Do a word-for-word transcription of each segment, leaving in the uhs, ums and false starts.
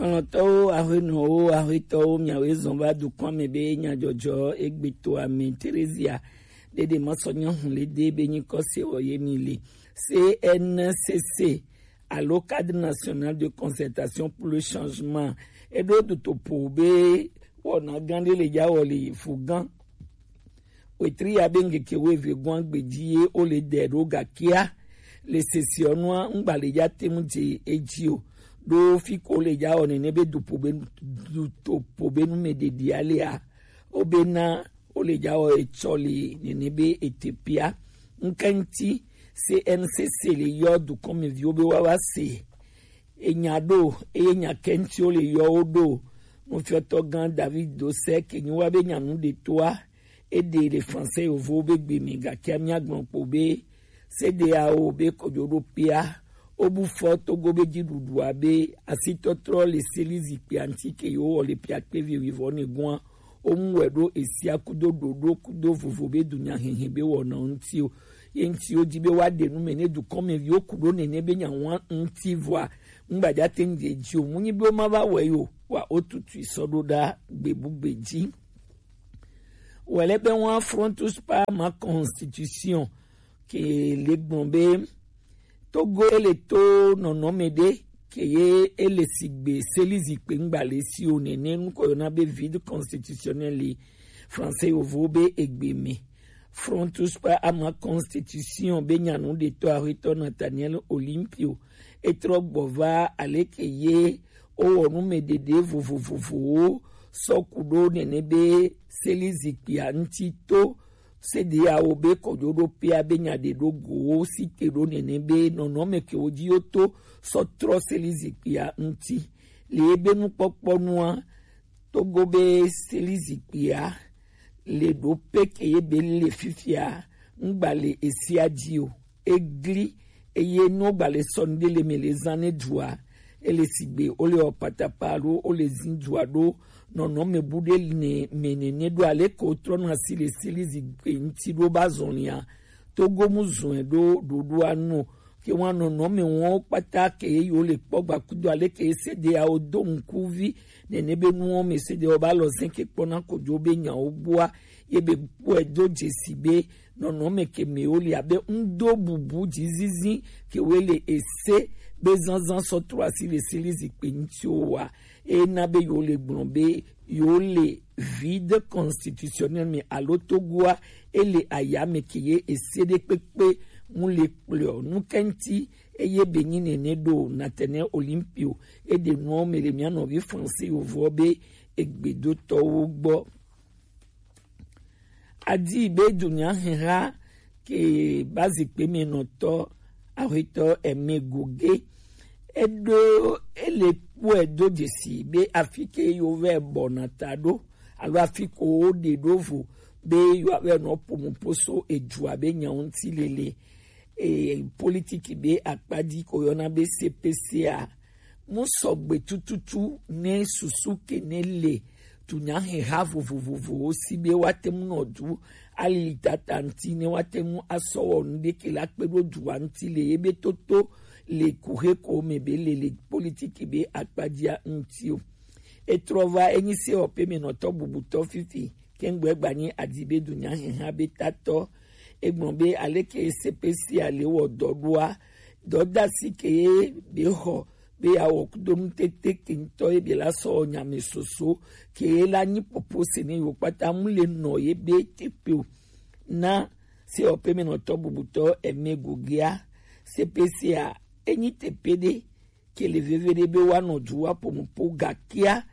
Xlɔ̃tɔwo, aƒenɔwo, aƒetɔwo, miawoe zɔn va dukɔa me be nyadzɔdzɔ egbe to ame Terezia ɖeɖe masɔ nyahun le de be nyikɔ se wɔ ye mi le. C N C C alo Cadre National de Concertation pour le Changement, eɖo dutoƒo be wɔna gã ɖe le dza wɔ le fu gã wetri ya be ŋkeke wuieve gɔ̃a gbe dzi ye wole dɛ ɖo, gakea le sesiɔnua ŋgba le dza te ŋu dze edzi o. Ɖo fi ko le dza wɔ nene be dupo be dutoƒo be nu me ɖeɖi alea, wobena wole dza wɔ etsɔ le nene be etepea. Ŋkɛŋti C N C C le yɔ dukɔmeviwo be woava se enya ɖo, eye nya kɛŋti wole yɔ wo ɖo. Nufiɔtɔ gã David Dosek nyi wa be nyanu ɖetoa, eɖe le Français yovowo be gbe me, gakea míagblɔ kpo be C D A O be kojoɖoƒea wobu fɔ Togo be dziɖuɖua be asitɔtrɔ le seli zikpuia ŋuti ke yewo wɔ le piakpe vi wuivɔ ne gɔ̃a, womu wɛ ɖo esia kudo ɖoɖo kudo vovo be dunyahehe be wɔna ŋuti o. Ye ŋuti wodi be woaɖe nu me ne dukɔmeviwo ku ɖo nene be nyawa ŋuti vɔa, ŋgbadza te ŋu dze dzi o. Mu nyi be woma va wɔe yo, wa wotutui sɔ ɖo ɖa gbebugbe dzi. Wɛlɛ be wa Frontus pa ma constitution ke le gbɔn be Togo ele to nɔnɔme ɖe ke ye ele sigbe seli zikpe ŋgba le si o nene, nukɔ yɔna be vide constitutionnel le Français yovo be egbe me. Frontus pa ama constitution be nyanu ɖetɔ ahuetɔ Nathaniel Olympio etrɔ gbɔ va aleke ye wowɔ nu me ɖeɖe vovovovowo sɔ ku ɖo nene be seli zikpuia ŋuti to C D A O be kɔjoɖoƒea be nya ɖe ɖo go wo si te ɖo nene be nɔnɔme ke wo dzi yo to sɔ trɔ seli zikpuia ŋuti. Le ebe nukpɔkpɔ nua, Togo be seli zikpuia le ɖo pe ke ye be le fifia ŋgba le esia dzi o. Egli eye no gba le sɔ nu ɖe le me le zan ne dua, ele sigbe wole ɔ patapa alo wole zin dua ɖo nɔnɔme bu ɖe ne me nene ɖo ale ke wotrɔ nɔ asi le seli zikpui ŋuti ɖo ba zɔlia. Togo mu zɔe ɖo ɖoɖoa nu ke wa nɔnɔme wɔn kpata ke ye yo le kpɔ gba kudo ale ke se de awo do ŋkuvi nene be nuwo me se de wo ba lɔ zɛn ke kpɔna kojo be nyawo gbɔa ye be kpɔe do dzesi be nɔnɔme ke me wo le abe ŋdo bubu dzizizi ke wo le ese be zanzan sɔ trɔ asi le seli zikpui ŋuti wo wa. Ena be yo le gblɔ be yo le vide constitutionnel me alo Togoa ele aya me ke ye ese ɖe kpekpe mu le kplɔ nu kɛnti eye be nyi nene ɖo Nathaniel Olympio eɖe nuwo me le mia nɔvi Français yovoɔ be egbedotɔwo gbɔ. Adi be dunya heha ke ba zikpe me nɔtɔ ahuetɔ eme goge eɖo ele kpɔe do dzesi be afi ke yo vɛ bɔna ta ɖo alo afi ko wo ɖe ɖo vo be yo avɛ nɔ pomupo so edua be nya ŋuti lele e politiki be akpadi ko yɔna be C P C a mu sɔgbe tututu ne susu ke ne le tunyaheha vovovovowo si be woate ŋu nɔ du alili tata ŋuti ne woate ŋu asɔ wɔ nu ɖeke la kpe ɖo dua ŋuti le ye be toto le kuxe ko me be le le politiki be akpadzia ŋuti o. Etrɔ va enyi sewɔƒemenɔtɔ bubutɔ fifi kɛŋgbɛ gbanyi adi be dunyaheha be tatɔ. Egblɔ be aleke C P C a le wɔ dɔ ɖoa, dɔdasi ke ye be xɔ be yeawɔ kudonu tete ke ŋutɔ ye be la sɔ nya me soso ke ye la nyi popo se ne yo kpata mu le nɔ ye be teƒe o. Na sewɔƒemenɔtɔ bubutɔ eme gogea C P C a enyi teƒe ɖe ke le veve ɖe be woanɔ du wa pomupo gakea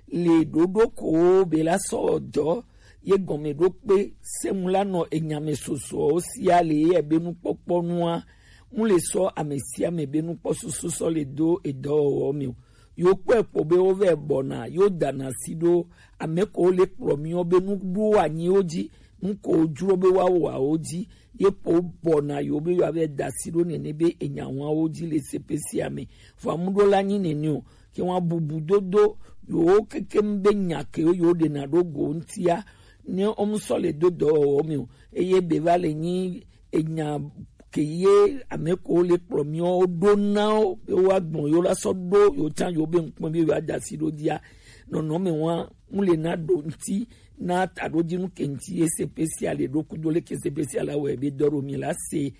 le ɖoɖo ko be la sɔ dɔ ye gɔme ɖo kpe semu la nɔ enyame sosoawo sia le ye be nukpɔkpɔ nua mu le sɔ ame sia ame be nukpɔ susu sɔ le do edɔwɔwɔ me o. Yo kpɔe kpɔ be wo vɛ bɔna yo dana si ɖo ame ko le kplɔ miɔ be nu ɖo anyiwo dzi nu ko dzro be woawɔ awo dzi ye kpo bɔna yo be yo avɛ da si ɖo nene be enya wawo dzi le C P C a me. Vɔ amuɖo la nyi nene o ke wa bubu dodo yo keke be nya ke yo ɖe na ɖo go ŋutia ne omu sɔ le do dɔwɔwɔ me o eye be va le nyi enya ke ye ame ko le kplɔ miɔ ɖo na wo be woagbɔn yo la sɔ ɖo yo can yo be ŋkpɔn be yo adasi ɖo dia nɔnɔme wa mu le na ɖo ŋti na taɖodinu ke ŋti ye sepesia le ɖo kudo le ke sepesia la wɛ be dɔ ɖo mi la se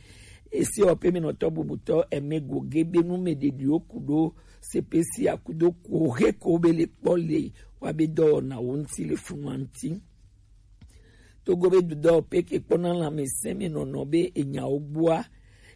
ese ɔ pe mi nɔtɔ bubutɔ eme goge be nu me ɖeɖi wo kudo sepesia kudo ko he ko be le kpɔ le wa be dɔ na wo ŋti le funua ŋti. Togo be dudɔ pe ke kpɔna lãmesẽ me nɔnɔ be enyawo gbɔa,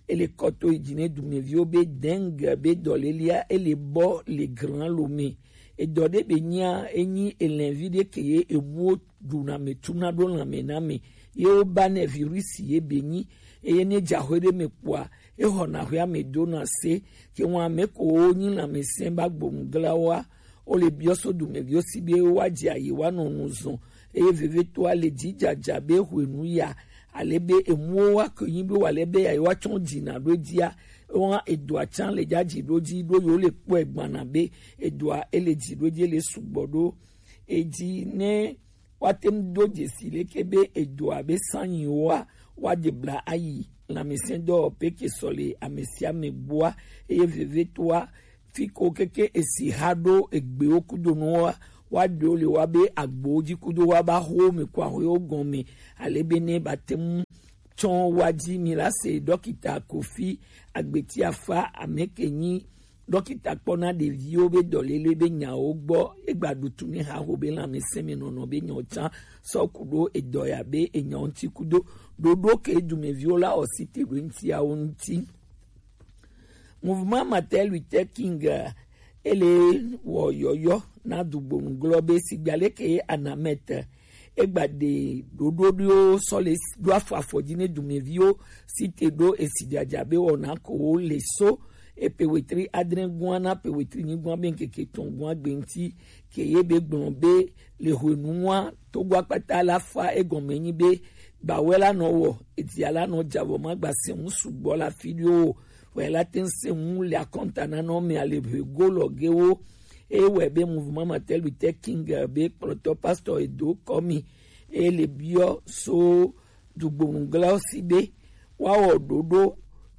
ele kɔto yi dzi ne dumeviwo be dengue be dɔlélea ele bɔ le gran lo me. Edɔ ɖe be nyia enyi elɛnvi ɖe ke ye emuwo ɖuna me tuna ɖo lãme na me ye woba nɛ virisi ye be nyi eye ne dzaxwe ɖe me kpɔa exɔna xwea me dona se ke ŋu ame ko wo nyi lãmesẽ ba gbɔnu glawoa wo le biɔ so dumeviwo si be woadze ayi woanɔ nu zɔn eye vevitɔa le dzidzadza be hwenu ya ale be emuwo woake nyi be wòale be yayi woatsɔ dzina ɖo edzia wohã edɔa tsã le dzadzi ɖo dzi ɖo yewo le kpɔe gbana be edɔa ele dzi ɖo dzi ele sugbɔ ɖo edzi ne woate ŋu do dzesi leke be edɔa be sanyiwoa woadze bla ayi lãmesẽdɔwɔƒe ke sɔ le ame sia ame gbɔa eye vevitɔa fi ko keke esi ha ɖo egbewo kudo nuwoa woaɖewo le wa be agbowo dzi kudo wa ba xowo me ko ahoewo gɔme ale be ne bate ŋu tsɔ wa dzi mi la se dɔkita kofi agbeti afa ame ke nyi dɔkita kpɔna ɖeviwo be dɔlele be nyawo gbɔ egba ɖutu ne haho be lãmesẽ me nɔnɔ be nyawo tsã sɔ ku ɖo edɔ ya be enyawo ŋuti kudo ɖoɖo ke dumeviwo la ɔsi te ɖo ŋutiawo ŋuti. Mouvement Martin Luther King eh, ele wɔ yɔyɔ na dugbonu glɔ be sigba leke ye anamɛte egba ɖe ɖoɖoɖiwo sɔ le ɖo afɔ afɔ dzi ne dumeviwo si te ɖo esi dzadza be wɔna ko wo le so epe wetri adre gua na pe wetri nyigua be ŋkeke tɔn gua gbe ŋti ke ye be gblɔ be le hwenua togo akpata la fa egɔme nyi be gbawɛ la nɔ wɔ etia la nɔ dzavɔ ma gba se ŋu sugbɔ la fi ɖio o wɛ la te ŋu se ŋu le akɔnta na nɔ mea le ʋe go lɔ ge wo eye wɛ be mouvement Martin Luther King be kplɔtɔ pastor edo kɔmi eye le biɔ so dugbonuglawo si be woawɔ ɖoɖo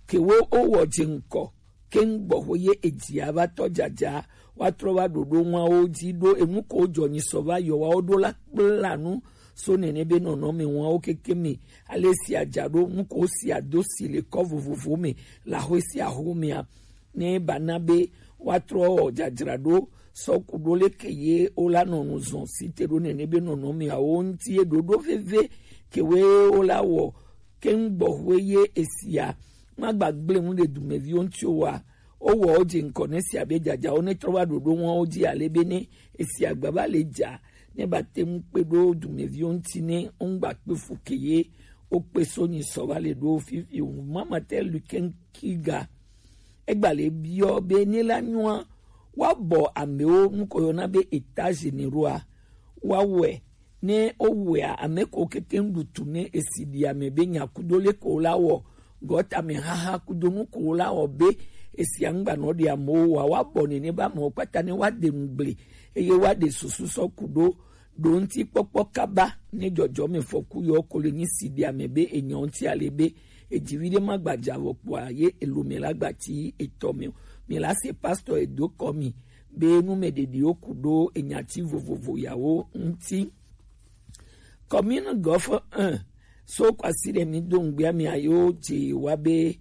ke wo wowɔ dze ŋkɔ keŋ gbɔxwe ye edzia va tɔ dzadza woatrɔ va ɖoɖo ŋuawo dzi ɖo enu ko dzɔ nyi sɔ va yɔ woawo ɖo la kpla nu so nene be nɔnɔme ŋuawo keke me ale si adza ɖo nu ko si ado si le kɔ vovovo me le axwe sia axwe mea ne bana be woatrɔ dzadzraɖo sɔ ku ɖo leke ye wola nɔ nu zɔn si te ɖo nene be nɔnɔmeawo ŋuti ye ɖoɖo veve ke we wola wɔ keŋ gbɔxwe ye esia magba gblẽ nu ɖe dumeviwo ŋuti o wa wowɔ wo dze ŋkɔ ne sia be dzadzawo ne trɔ va ɖoɖo ŋuawo dzi ale be ne esia gba va le dza ne ba te ŋu kpe ɖo dumeviwo ŋuti ne wongba kpe fu ke ye wokpe so nyi sɔ va le ɖo fifi o mama te lu keŋ kiga egba le biɔ be ne la nyɔa woabɔ amewo nu ko yɔna be état généraux a woawɔe ne wowɔea ame ko kekeŋ ɖu tu ne esi ɖi ame be nyakudo le ko la wɔ gɔtame haha kudo nu ko la wɔ be esia ŋgba nɔ ɖi amewo wa woabɔ nene be amewo kpata ne woaɖe nu gble eye woaɖe susu sɔ ku ɖo ɖo ŋuti kpɔkpɔ kaba ne dzɔdzɔme fɔku yɔ ko le nyi si ɖi ame be enyɔ ŋuti ale be edzivi ɖe ma gbadza vɔ kpɔa ye elome la gbati etɔ me o mi la se pastor edo kɔ mi be nu me ɖeɖiwo ku ɖo enyati vovovo yawo ŋuti. Commune Golfe un so kwasi ɖe mi do ŋgbea mi ayo dze wa be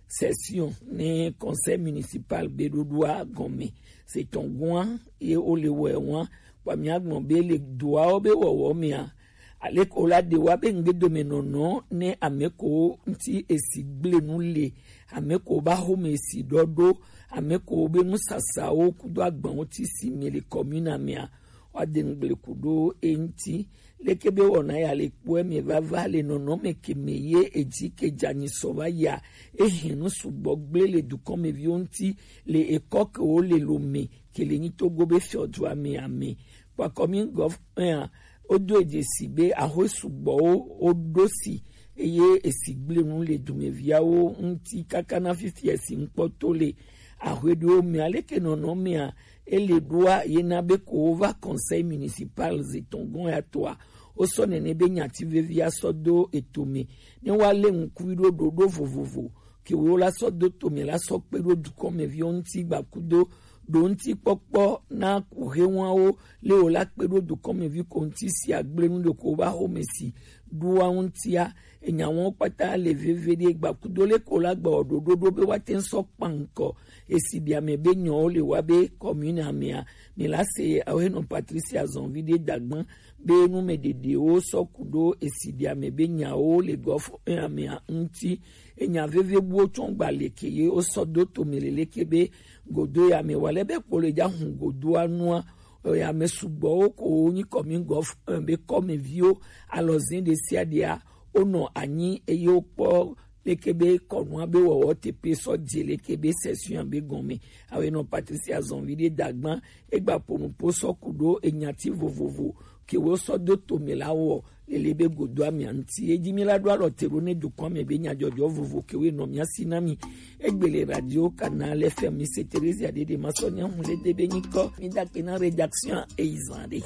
session ne conseil municipal be ɖoɖoa gɔme se tɔn gua ye wo le wɔ wan kpa mi agbɔn be le doawo be wɔwɔ mea aleke wo la ɖe wa be ŋgbedomenɔnɔ ne ame ko ŋuti esi gblẽ nu le ame ko ba xome esi ɖɔɖo ame ko be nusasawo kudo agbawo ti si mi le commune mea woade ŋgble ku ɖo eŋuti leke be wɔna ya le kpɔe me vava le nɔnɔme ke me ye edzi ke dzanyi sɔ va ya ehe nu sugbɔ gblẽ le dukɔmeviwo ŋuti le ekɔ ke wo le lo me ke le nyi togo be fiɔdua me ame kpakɔ mi gɔf ea wodo edzesi be ahoe sugbɔwo woɖo si eye esi gblẽ nu le dumeviawo ŋuti kaka na fifia esi ŋkpɔto le ahoe ɖewo me aleke nɔnɔ mea ele ɖoa ye na be ko wova conseil municipal zi tɔn gɔn ya toa wosɔ nene be nyati vevia sɔ do eto me ne woalé ŋkui ɖo ɖoɖo vovovo ke wo la sɔ do to mɛ la sɔ kpe ɖo dukɔnmɛviwo ŋuti gbakudo ɖo ŋuti kpɔkpɔ na kuhewanwo le wo la kpe ɖo dukɔnmɛvi ko ŋuti si agble nu ɖo ko wo ba xɔme si ɖoa ŋutia. Enya wɔn kpata le veve ɖe gbakudo le ko la gbɔ ɖoɖo ɖo be woate ŋu sɔ kpankɔ esi ɖi ame be nyɔwo le wa be kɔmune amea. Mi la se awo henɔ Patricia zɔnvi ɖe dagban be nu mɛ ɖeɖewo sɔ ku ɖo esi ɖi ame be nyawo le gɔfɔ amea ŋuti. Enya veve buwo tsɔ gba leke ye wo sɔ do to mi leleke be godo ya me wa le be kpo le ja hun godoa nua. Oya me sugbɔwo ko wo nyi kɔmi gɔf be kɔmeviwo alɔzin ɖe sia ɖea wonɔ anyi eye wokpɔ leke be kɔnua be wɔwɔ tepe sɔ dze leke be sɛsua be gɔme. Awe nɔ Patricia zɔnvi ɖe dagban egba ponu po sɔ ku ɖo enyati vovovo ke wo sɔ do to me la wɔ lele be godo amia ŋuti. Eji mi la ɖo alɔ te ɖo ne dukɔ me be nyadzɔdzɔ vovo ke wo nɔ mia si na mi. Egbele radio Canal F M, mi se Theresia Dede ma sɔ nya hun le de be nyikɔ. Mi da ke na rédaction e izan de.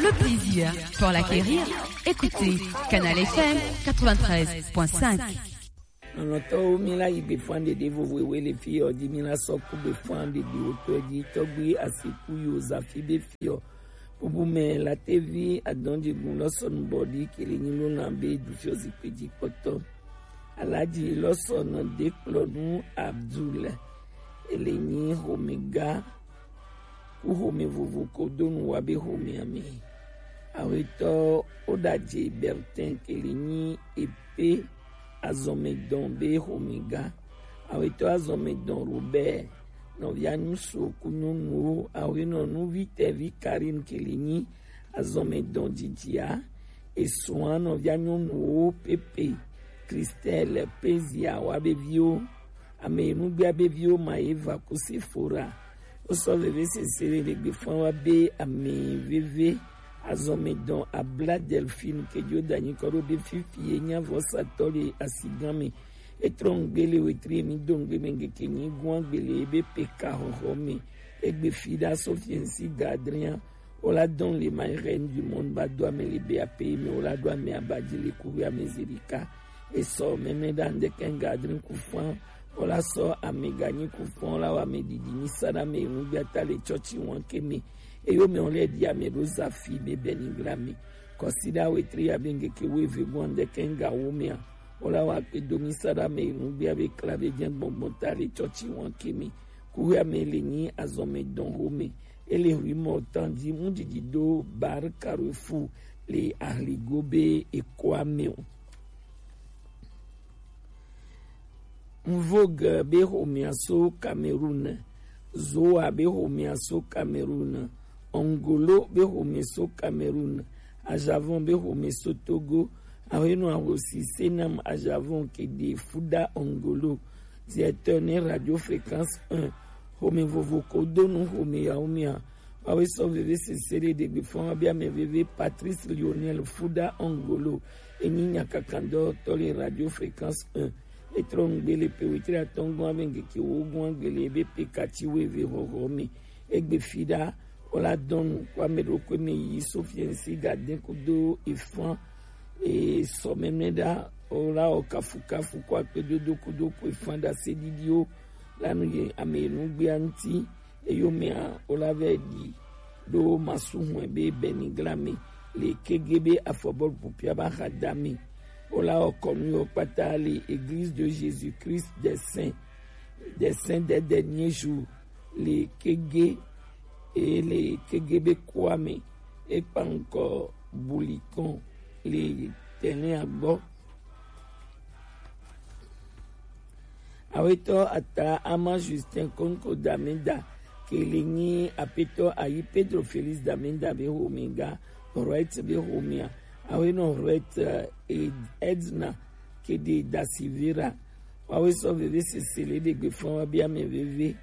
Le plaisir pour l'acquérir. Écoutez Canal F M quatre-vingt-treize point cinq. Nɔnɔtɔwo, mi la yi gbefan ɖeɖe vovo ewe le fi ɔ di mi la sɔ ku gbefan ɖeɖe wotɔ di tɔgbi asiku yo zafi be fi ɔ. Bubu mɛ latevi adɔnjigun lɔsɔnu bɔ di kele nyi lona be du fiɔ zikpe di kpɔtɔ. Alaji lɔsɔnu de kplɔ nu Abdul ele nyi homega ku home vovo ko do nu wa be homea me. Awetɔ Odaje Bertin kele nyi epe azɔmedɔn be homega. Awetɔ azɔmedɔn Robert nɔvia nyusu ku nyɔnuwo awenɔ nuvi tɛvi Karine kele nyi azɔmedɔn dzidzia. Esua nɔvia nyɔnuwo Pepe, Christelle, Pezia wa be viwo. Ame nugbea be viwo ma ye va ku Sephora. Wosɔ veve sese le le gbefan wa be ame veve azɔmedɔn Abla Delphine ke jo danyi kɔ ɖo be fifi ye nya vɔsatɔ le asigan me. Etrɔ ŋgbe le wetri mi do ŋgbe me ŋgeke nyi gua gbele ebe peka xɔxɔ me. Egbe fi ɖa Sofiensi Gadria. Wola dɔn le ma reine du monde ba do ame le be ape me wola do ame abadzi le kuwe ame zerika. Esɔ mɛmɛ ɖa ŋdeke ŋgadri kufan. Wola sɔ ame ganyi kufan la wa ame didi mi sa ɖa me ŋugbe ata le tsɔtsi wan ke me. Eyo me wole di ame ɖo zafi be beni gla me. Kɔsi ɖa wetri ya be ŋgeke wo eve gɔn ŋdeke ŋga wo mea. Wola wa kpe do mi sa ɖa me ŋugbe abe kla be jɛ gbɔngbɔn ta le tsɔtsi wan ke me. Kuxia me le nyi azɔmedɔn xome. Ele hui mɔ tan di mu didi do Bar Carrefour le Ahligo be ekoa me o. Mvogue be xomea so Cameroun. Zoa be xomea so Cameroun. Ongolo be xome so Cameroun. Ajavon be xome so Togo. Awenɔ ahosi Senam Ajavon ke de fuda Ongolo. Directeur ne Radio Fréquence un. Xome vovo ko do nu xome yawo mia. Wawe sɔ veve sese ɖe ɖegbe fɔn wa be ame veve Patrice Lionel fuda Ongolo. Enyi nyakakandɔtɔ le Radio Fréquence un. Etrɔ ŋgbe le pe wetri atɔngɔn abe ŋgeke wo gɔn agbele ebe pe kati wo eve xɔxɔ me. Egbe fi ɖa wola dɔn nu kɔ ame ɖokui me yi Sofiensi Gadin kudo efan e sɔ mɛmɛ ɖa wola wɔ kafukafu kɔ akpedodo kudo ko efan ɖa se ɖiɖiwo la nu ye ame nugbea ŋuti. Eyomea wola vɛ ɖi ɖo masu hɔn be bɛnigla me le kege be afɔbɔlu pupia ba xa da me. Wola wɔ kɔnu yɔ kpata le Église de Jésus-Christ des Saints des Saints des Derniers Jours le kege e le kege be koa me. Ekpa ŋkɔ Bulikɔn le tɛnɛa gbɔ. Awetɔ ata ama Justin Konko Damenda kele nyi apetɔ ayi Pedro Felix Damenda be homega Wright be homea. Awenɔ Wright eh, Edna kede Dasivera. Wawe sɔ veve sese le ɖegbe fɔn wa be ame veve.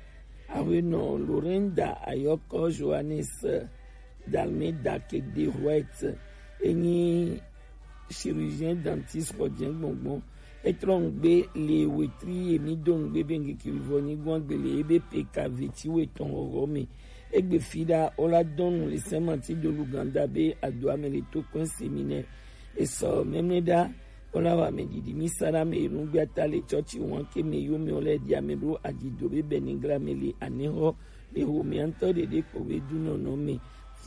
Awenɔ Lorenda ayɔkɔ Johannes eh, Dalmeda kede Wright enyi chirurgien dentiste xɔ jɛ gbɔngbɔn. Etrɔ ŋgbe le wetri emi do ŋgbe be ŋgeke vɔ nyi gbɔn gbele ebe pe ka veti wetɔn xɔxɔ me. Egbe fi ɖa, wo la dɔn nu le Saint Martin de l'Ouganda be adoame le to kɔn séminaire. Esɔ mɛmlɛ ɖa, wo la wa mɛ didi mi sa ɖa mɛ enu gbe ata le tsɔtsi wan ke mɛ yo mɛ wo lɛ di ame ɖo adzido be bɛnigla mɛ le anexɔ le homea ŋutɔ ɖeɖe kpo be dunɔnɔ mɛ.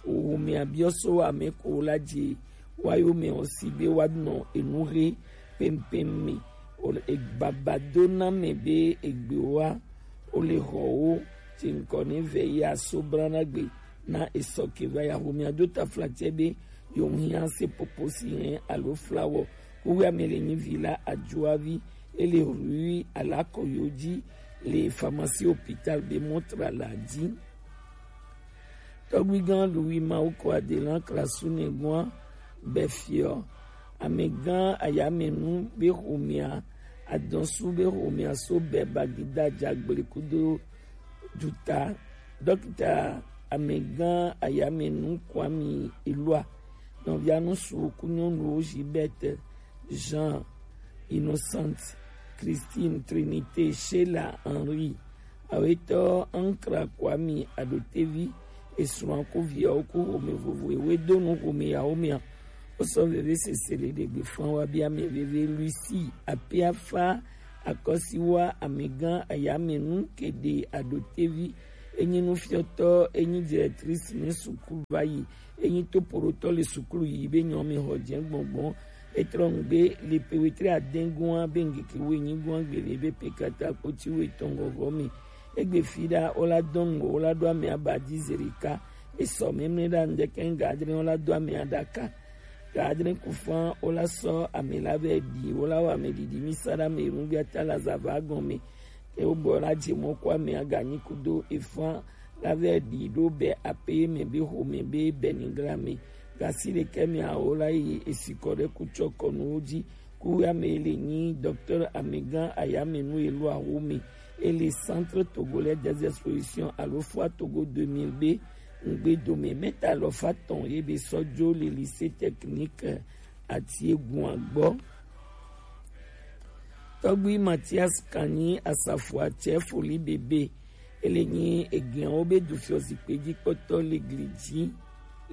Homea biɔ so ame ko wo la dzi wa yo mɛ wo si be wa nɔ enu he pɛmpɛm mɛ. O le egbaba do na mɛ be egbe wa o le xɔ wo tsi ŋkɔ ne vɛ yi aso brana gbe na esɔ ke va ya homea do ta flatsɛ be yo ŋu hia se popo si hɛn alo flawɔ. Kuwia mɛ le nyi vi la adzoavi ele rui alakɔ yo dzi le pharmacie hôpital be montre la dzi. Tɔgbuigã Louis Mawuko Adelan Klasu nɛgɔa bɛ fiɔ amɛgã ayamɛnu be homea adɔsu be homea so bɛ bagida jagble kudo duta dɔkita amɛgã ayamɛnu Kwame Elua nɔvianu su ku nyɔnuwo Gilberte, Jean, Innocente, Christine, Trinité, Sheila, Henri, awetɔ Ankra Kwame Adotevi, esrɔ̃a ku viawo ku home vovo ewe do nu home yawo mea. Wosɔ veve sese le ɖegbe fã wa bi ame veve Lucie Apiafa Akɔsiwa amɛgã ayamɛnu keɖe Adotevi enyi nufiɔtɔ enyi directrice ne sukulu va yi enyi topoɖotɔ le sukulu yi be nyɔ mi xɔ dze gbɔngbɔn. Etrɔ ŋgbe le pe wetre adɛn gɔn be ŋgeke wo enyi gɔn gbele be pe kata kpoti wo etɔn gɔgɔ mi. Egbe fi ɖa wo la dɔn ŋgɔ wo la ɖo ame aba dzi zerika. Esɔ mɛmlɛ ɖa ŋdɛkɛ ŋga adre wo la do ame aɖaka. Ga adre ku fã wo la sɔ ame la vɛ ɖi wo la wɔ ame ɖiɖi mi sa ɖa ame enu gbe ata la zava gɔn mi. Ke wo bɔ la dze mɔ ko ame aganyi kudo efã la vɛ ɖi ɖo bɛ ape mɛ be xome be bɛnigla mɛ. Gasi ɖekɛ mɛ awo la yi esikɔ ɖe kutsɔ kɔnuwo dzi. Kuwia mɛ le nyi docteur amɛgã ayamɛnu elo awo mɛ. Ele Centre Togolais des Expositions alo Foire Togo deux mille be ŋgbe dome mɛta lɔ fa tɔn ye be sɔ jo le lycée technique Atiegun agbɔ. Tɔgbui Mathias Kanyi Asafua tsɛ foli bebe. Ele nyi egianwo be dufiɔ zikpe dzi kpɔtɔ le gli dzi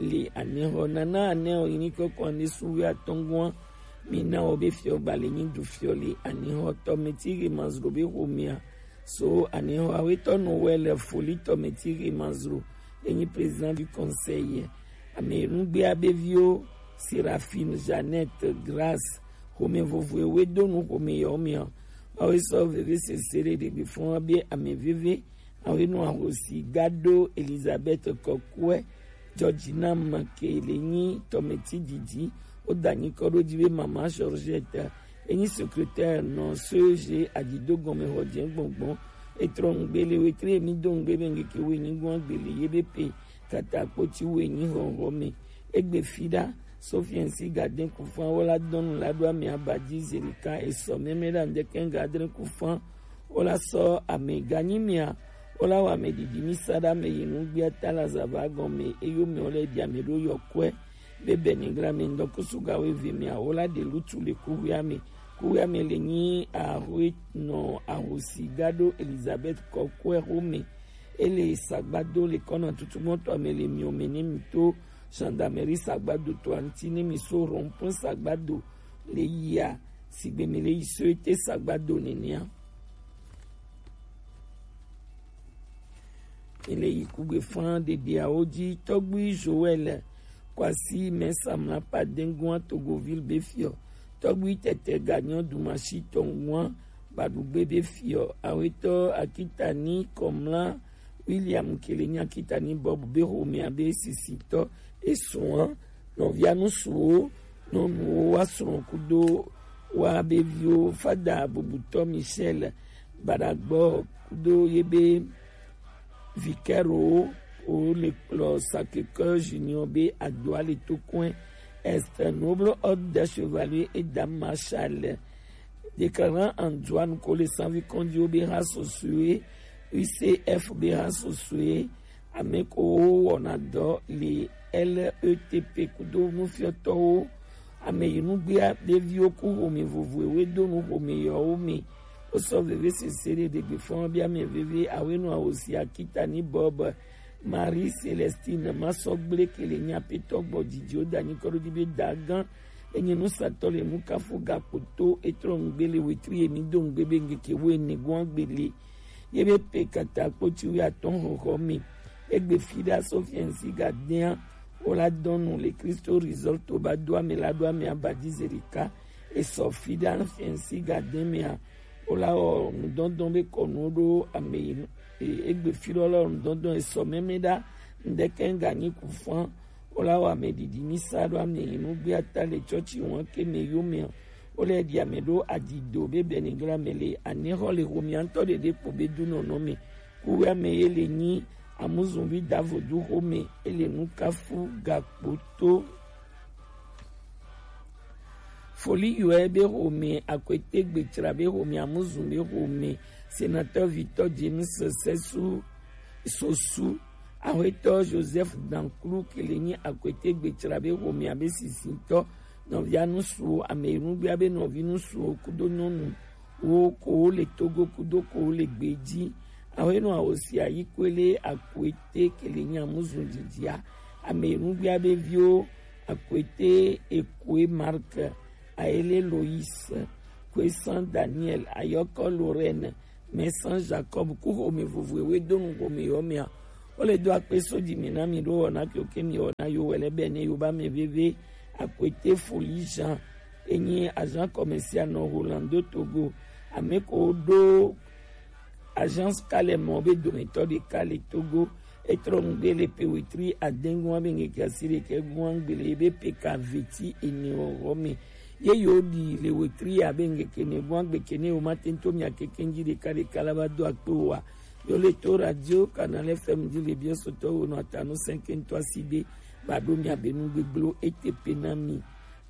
le anexɔ nana anexɔ yi ni kɔkɔ ane suwe atɔngua. Mina wo be fiɔ gba le nyi dufiɔ le anexɔ tɔ meti he mazro be xomea. So anexɔ awetɔ no wɛ le foli tɔ meti he mazro. Enyi président du conseil. Ame nugbea be viwo Seraphine, Jeannette, Grâce, xome vovoe we do nu xome yawo mea. Awe sɔ veve sese ɖe ɖegbe fɔn be ame veve. Awe nɔ ahosi gado Elizabeth Kɔkuɛ, Georgina Make le nyi tɔmeti didi. Wo da nyi kɔ ɖo dzi be mama Georgette. Enyi secrétaire nɔ C E G adzido gɔme xɔ dze gbɔngbɔn. Etrɔ ŋgbe le wetre mi do ŋgbe be ŋgeke we nyi gbɔn gbele ye be pe kata kpoti we nyi xɔxɔ me. Egbe fi ɖa, Sofiensi Gaden Kufan wo la dɔnu la ɖo ame aba dzi zerika esɔ mɛmɛ ɖa ŋdɛkɛ Gaden Kufan wo la sɔ ame ganyi mia wo la wɔ ame ɖiɖi mi sa ɖa ame yi nugbia ta la zava gɔme eyo mɛ wo le ɖi ame ɖo yɔ kɔe be bɛnigla me ŋdɔ kusu ga wo eve mia wo la ɖe lutu le kuhua me. Kuhua me le nyi ahoe nɔ ahosi ga ɖo Elizabeth kɔkɔe xome. Ele sagbado le kɔna tutu mɔtɔ me le miome ne mi to gendarmerie sagbado to anti ne mi so rond-point sagbado le yia sigbe mi le yi so ete sagbado nenea. Mi le yi kugbe fan ɖeɖeawo dzi. Tɔgbui Joël Kwasi Mɛsa Mlapa Dengua Togoville be fiɔ. Tɔgbui Tɛtɛ Ganyɔ Dumasi Tɔngua Badugbe be fiɔ. Awetɔ Akitani Kɔmla William Kelenya Akitani Bob be xomea be sisitɔ. Esua nɔvia nusuwo nɔnuwo wa srɔ̃ kudo wa be viwo fada bubutɔ Michel Badagbɔ kudo ye be vikɛrowo wo le kplɔ Sacré-Cœur Junior be adoa le to kɔe. Est noble ordre des chevaliers et dames marshal déclarant en droit ko le sanvi kɔndiwo be ha sosue U C F be ha sosue ame ko wo wɔna dɔ le L E T P kudo nufiɔtɔwo ame yi nugbea ɖeviwo ku xome vovoe we do nu xome yɔwo me. Wo sɔ veve sese ɖe ɖegbe fɔn bi ame veve awe nu awo si akita ni bɔbɔ Marie Célestine Masɔgble ke le nyi apetɔ gbɔ dzidziwo da nyi kɔɖo di be dagan enyi nusatɔ le nukafu gakpoto etrɔ nugbe le wetri emi do nugbe be ngeke wo ene gɔn gbele ye be pe kata kpoti wi atɔn xɔxɔ mi egbe fi ɖa so fiɛnsi gadea wo la dɔnu le Kristo Resort to ba do ame la do ame abadi zerika esɔ fi ɖa fiɛnsi gadea mea wo la wɔ nudɔndɔn be kɔnu ɖo ame yi e- egbe fi ɖɔ lɔ nudɔndɔn esɔ mɛmɛ ɖa ŋdɛkɛ ŋga nyi ku fã wo la wɔ ame ɖiɖi mi sa ɖo ame yi nugbe ata le tsɔtsi wɔn ke me yo mea wo le ɖi ame ɖo adido be bɛnigla me le anexɔ le xomia ŋutɔ ɖeɖe kpo be du nɔnɔ me kuwe ame ye le nyi amuzunvi davodu xome ele nukafu gakpoto. Foli yɔe be xome akwete gbetsra be xome amuzun be xome sénateur Victor James Sessu Sosu, axwetɔ Joseph Danklu ke le nyi akwete gbetsra be xome abe sisintɔ nɔvia nusuwo ame nugbea be nɔvi nusuwo kudo nyɔnu wo ko wo le Togo kudo ko wo le gbeji. Axwenu awosi ayi kwele akwete ke le nyi amuzun dzidzia ame nugbea be viwo akwete ekwe Mark, Ayele Lois, Kwesan Daniel, Ayɔkɔ Lorraine, Mɛsan Jacob ku xome vovo ewe do nu xome yɔ mea wo le do akpe so dzi mi na mi ɖo wɔna ke wo ke mi wɔna yo wɛ lɛ bɛ ne yo ba mɛ veve akwete Foli Jean enyi agent commercial nɔ Rolando Togo ame ko ɖo agence kalɛ mɔ be dometɔ ɖeka le Togo etrɔ nugbe le pe wetri adengun abe ngeke asi ɖeke gun agbele be pe ka veti ene wɔwɔ me ye yo ɖi le wetri abe ngeke ne gun agbe ke ne wo ma tento mia keke ŋdzi ɖeka ɖeka la va do akpe wa yo le to radio Canal F M dzi le biɔ sotɔ wo nɔ atanu sɛnkɛntɔ asi be ba ɖo mia be nu gbegbleo ete pe na mi.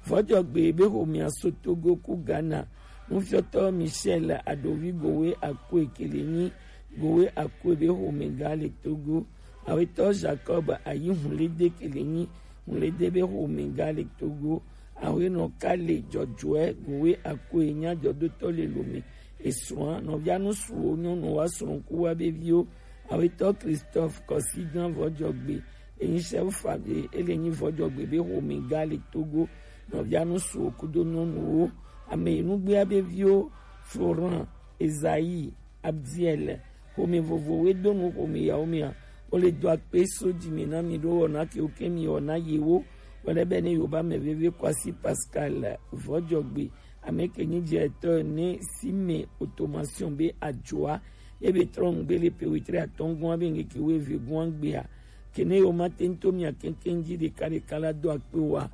Vɔdzɔgbe be xomea so Togo ku Ghana. Nufiɔtɔ Michel Adovi Gowe Akoe ke le nyi Gowe Akoe be xomega le Togo. Awetɔ Jacob Ayi Hunlede ke le nyi Hunlede be xomega le Togo. Awenɔ Kale Dzɔdzɔɛ Gowe Akoe nya dzɔdotɔ le Lome. Esrɔ̃a nɔvia nusuwo nyɔnu wa srɔ̃ ku wa be viwo. Awetɔ Christophe Kɔsigan Vɔdzɔgbe enyi chef fage ele nyi Vɔdzɔgbe be xomega le Togo nɔvia nusuwo kudo nyɔnuwo ame yi nugbea be viwo Florent, Esaïe, Abdiel xome vovowoe do nu xome yawo mea wo le do akpe so dzi me na mi ɖo wɔna ke wo ke mi wɔna yewo wɛlɛ bɛ ne yoba mɛ veve Kwasi Pascal Vɔdzɔgbe ame ke nyi dze etɔ ne si me automation be adzoa ebe trɔ ŋgbe le pe wetri atɔngɔn abe ŋgeke wo eve gɔn gbea kene yo ma te ŋto mia keŋkeŋ dzi ɖeka ɖeka la do akpe wa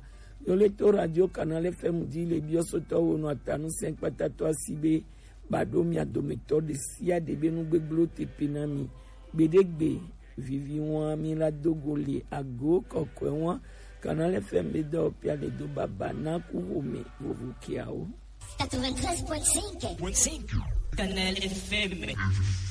yo le to radio Canal F M dzi le biɔ sotɔ wo nɔ atanu sɛn kpata to asi be ba ɖo mia dometɔ ɖe sia ɖe be nu gbegblẽwo te pe na mi gbeɖegbe vivi wa mi la do go le ago kɔkɔe wa Canal F M be dɔ pia le do baba na ku xome vovo kiawo. Quatre-vingt-treize point cinq. Canal F M.